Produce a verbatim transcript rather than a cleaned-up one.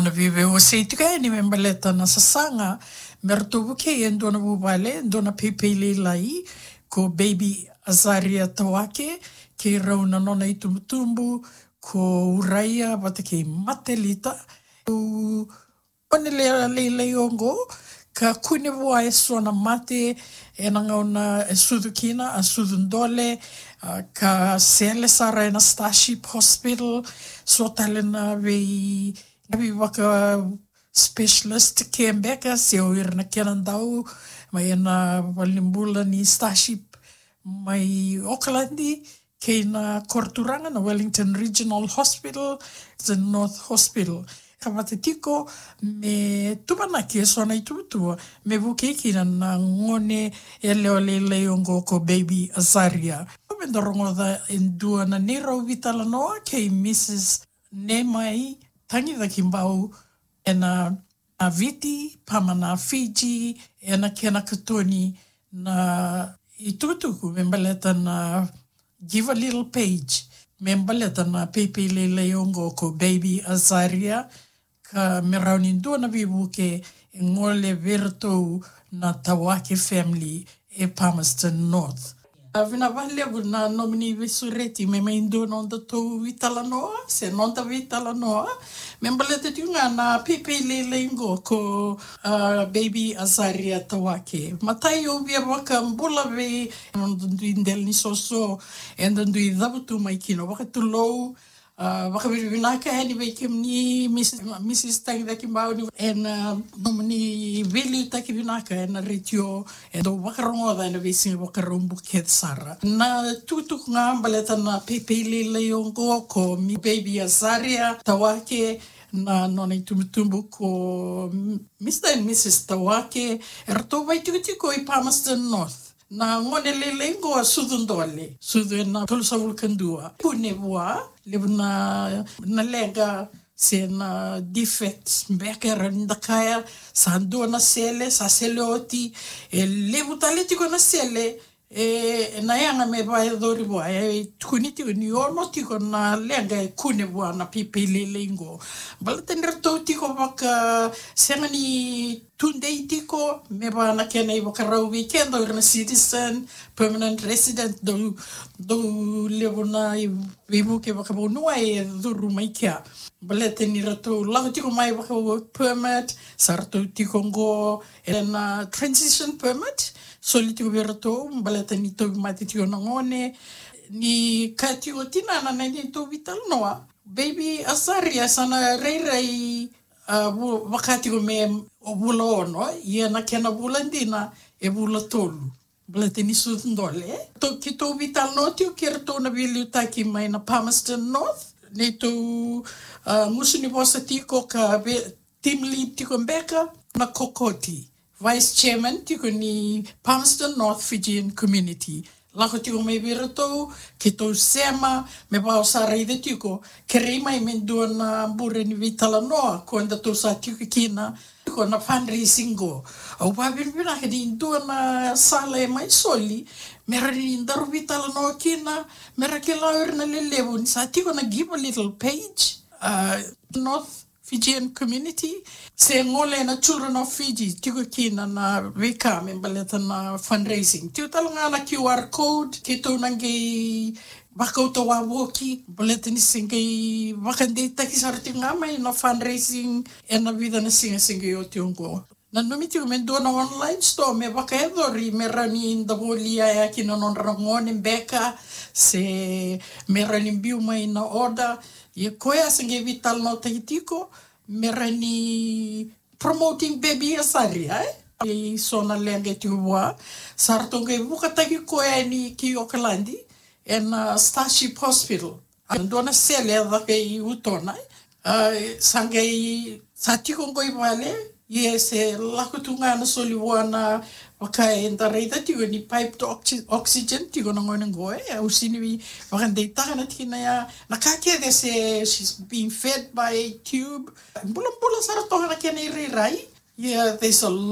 Na veiwasei tiko yani me baleta na sasaga me ratou vukei e dua na vuvale, e dua na peipei lailai, ko Baby Azaria Tawake, kei rau na nona itubutubu ko Uraia vata kei Matelita. O gone lailai oqo ka kune vua e so na mate ena gauna e sucu kina, a sucu dole, a, ka sele sara ena Starship Hospital, so tale na vei na veivaka specialist care beka se o ira na kena dau mai ena valenibula ni Starship mai Okaladi kei na koro turaga na Wellington Regional Hospital, the North Hospital. Ka vata tiko me tuvanaki e so na ituvatuva me vukei kina na gone yalewa lailai oqo ko Baby Azaria. Me da rogoca e dua na neirau veitalanoa kei Mrs Nemai Tagicakibau ena, na Viti, Pama na Fiji, ena kena katoni na itukutuku me baleta na Give a Little Page, me baleta na peipei lailai oqo ko Baby Azaria, ka me rawa ni dua na veivuke e gole vei iratou na Tawake family e Palmerston North. A, vinaka vakalevu na nomuni veisureti me mai dua nodatou veitalanoa, se noda veitalanoa. Me baleta tiko ga na peipei lailai qo ko, a, Baby Azaria Tawake. Matai au via vakabula vei noda dui dela ni soso, eda dui cavutu mai kina vakatulou, a, vakavinavinaka yani vei kemuni, Miss, Mrs Tagicakibau, ena, a, nomuni veiliutaki vinaka ena retio, e dau vakarogoca ena veisiga Vakaraubuka kece sara. Na tukutuku ga baleta na peipei lailai oqo ko Baby Azaria Tawake, na nona itubutubu ko Mr and Mrs Tawake, eratou vakaitikotiko i Palmerston North. Na gone lailai qo a sucu dole, sucu ena tolusagavulu ka dua. Kune vua, levu na, na leqa se na defects beka era ni da kaya, sa dua na sele, sa sele oti, e levu tale tiko na sele, e, na yaga me vakayacori vua, e tukuni tiko ni ono tiko na leqa e kune vua na peipei lailai qo. Baleta ni ratou tiko vaka, sega ni tudei tiko, me vaka na kena ivakarau vei keda o ira na citizen, permanent resident, dau, dau levu na i-, veivuke vakavanua e curu mai kea. Baleta ni ratou lako tiko mai vaka work permit, sa ratou tiko qo ena transition permit, soli tiko vei ratou, baleta ni tauvimate tiko na gone, ni kaya tiko tinana na neitou veitalanoa. Baby Azaria sa na rairai, a, vu-, vaka tiko me vula ono, ia na kena vula dina e vula tolu. Baleta ni sucu dole. Tou, keitou veitalanoa tiko kei ratou na veiliutaki mai na Palmerston North. Neitou, a, gusu ni vosa tiko ka vei, team lead tiko beka na Kokoti, vice chairman tiko ni Palmerston North Fijian Community. Lako tiko mai vei iratou, keitou sema, me vaka au sa raica tiko, kerei mai me dua na bure ni veitalanoa, ko datou sa tiko kina, tiko na fundraising qo. Au vakavinavinaka ni dua na sala e mai soli, me rawa ni daru veitalanoa kina, me ra kila o ira na lelevu, ni sa tiko na Give a Little page, a, North Fijian Community, se gole na Children of Fiji, tiko kina na veika me baleta na fundraising. Tiko tale ga na Q R code, keitou na qai vakauta wavoki, baleta ni se qai vakadeitaki sara tiko ga mai na fundraising, ena vica na siga se qai oti oqo. Nanumi tiko me dua na online store me vakayacori me rawa ni da volia ya kina nodra gone beka, se me rawa ni biu mai na order. Ia koya se qai veitalanoataki tiko me rawa ni promoting Baby Azaria, e? E so na leqa e tiko vua, sa ratou qai vukataki koya yani ki Okaladi, ena Starship Hospital. A dua na sele e caka i Utona, e? A, sa qai, sa tiko qo i vale, ia se lako tu ga na soli vua na vaka eda raica tiko ni piped oxy-, oxygen tiko na gone qo, e? Au sega ni vakadeitaka na tikina ya, na ka kece se she's being fed by tube. Bulabula sara toka na kena irairai. Yeah, there's a